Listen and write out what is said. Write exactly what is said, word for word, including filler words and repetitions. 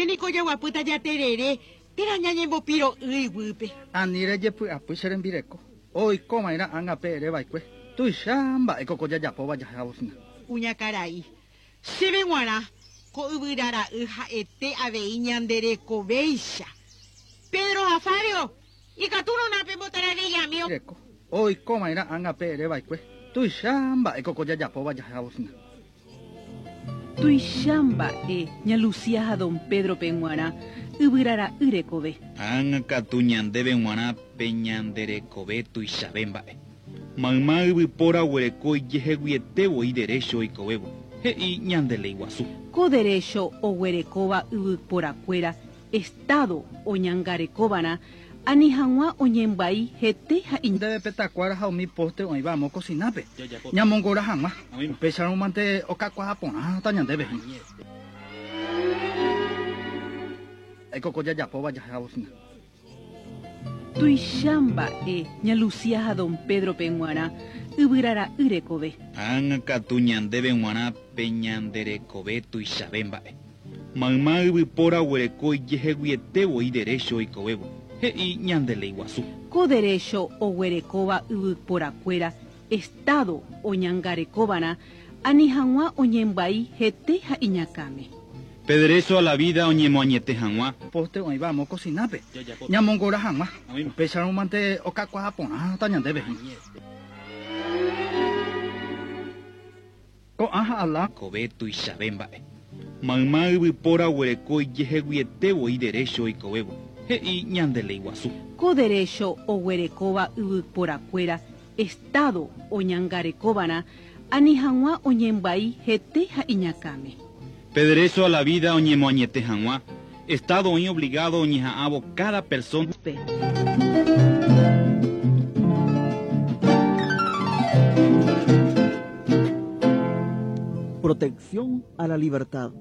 Ñande niko jaguapýta jaterere térã ñañembopiro'y iguýpe. Ani rejepy'apy che rembireko. Oikova'erã ág̃ape ereva'ekue. Tuicha mba'éko ko jajapóva jahávo hína. Kuñakarai. Chéve g̃uarã ko yvyrara'y ha'ete avei ñanderekovéicha. Pedro ha Fabio, ikatúrõ pembotaravillami. Reko. Oikova'erã ág̃ape ereva'ekue. Tuicha mba'éko ko jajapóva jahávo hína. Tuicha mba'e ña Lucía ha don Pedro-pe g̃uarã yvyrara'y rekove. Ág̃a katu ñandéve g̃uarã pe ñanderekove tuichave mba'e. Mayma yvypóra oguereko ijeheguiete voi derecho oikovévo. He'i ñande léi guasu. Ko derecho oguerekóva yvyporakuéra Estado oñangarekova'erã ani hag̃ua oñembyai hete ha Ndéve pe takuára ha umi poste oĩva amo kosinápe. Ñamongora hag̃ua. Upéicharõmante okakuaa porãta ñandéve. Mba'éko ko jajapóva jahávo hína. Tuicha mba'e ña Lucía ha don Pedro-pe g̃uarã yvyrara'y rekove. Ág̃a katu ñandéve g̃uarã pe ñanderekove tuichave mba'e. Mayma yvypóra oguereko ijeheguiete voi derecho oikovévo. He'i ñande léi guasu. Ko derecho oguerekóva yvyporakuéra Estado oñangarekova'erã ani hag̃ua oñembyai hete ha iñakãme. Pe derecho a la vida oñemoañete hag̃ua. Poste oĩva amo kosinápe. Ñamongora hag̃ua. Upéicharõmante okakuaa porãta ñandéve. Ko'ã ha ala. Kove tuichave mba'e. Mayma yvypóra oguereko ijeheguiete voi derecho oikovévo. He'i ñande léi guasu. Ko derecho oguerekóva yvyporakuéra Estado oñangarekova'erã ani hag̃ua oñembyai hete ha iñakãme. Pe derecho a la vida oñemoañete hag̃ua. Estado oĩ obligado oñeha'ãvo cada persona. Pe. Protección a la libertad.